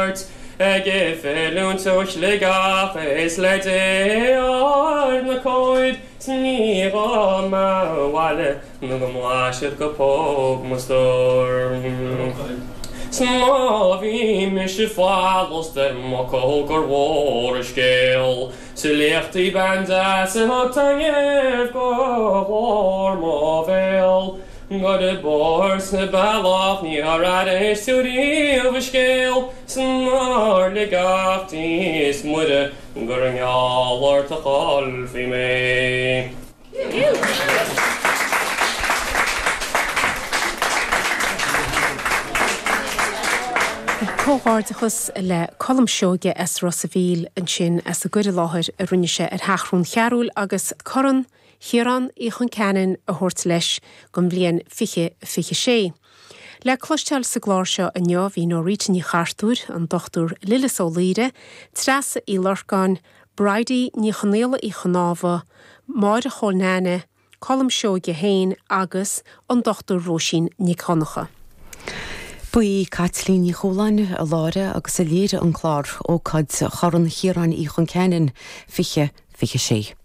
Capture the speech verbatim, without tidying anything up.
ort ag filiúint ó Shligeach is le Dé ar na cóid 's ní gá m'abhaile nó go mblaisfead go póg mo stór. 'S má bhí mise follas ar m'fhocal gur mhór an scéal Sa liachtaí bean deas a thug taitneamh go glór mo bhéal Gur i bport sa bealach níor airís tú riamh a scéal 's nár lig ach Dia is Muire gur i ngeall ort a chaillfí mé. Comhghairdeachas le Colm Seoige as Ros a' Mhíl ansin as an gcur i láthair a rinne sé ar Sheathrún Chearúil agus Corn Chiaráin Uí Chon Ceanainn a thabhairt leis don bhliain fiche fiche sé. Le cloisteáil sa gclár seo inniu bhí Norita Ní Chartúir, an Dochtúir Lillis Ó Laoire, Treasa Uí Lorcáin, Bridie Ní Chonaola Uí Chnámha, Máire Chóil Neaine, Colm Seoige féin agus an Dochtúir Róisín Nic Dhonncha. Ba í Caitlín Ní Chualáin a láithrigh agus a léirigh an clár, ócáid Chorn Chiaráin Uí Chon Ceanainn fiche fiche sé.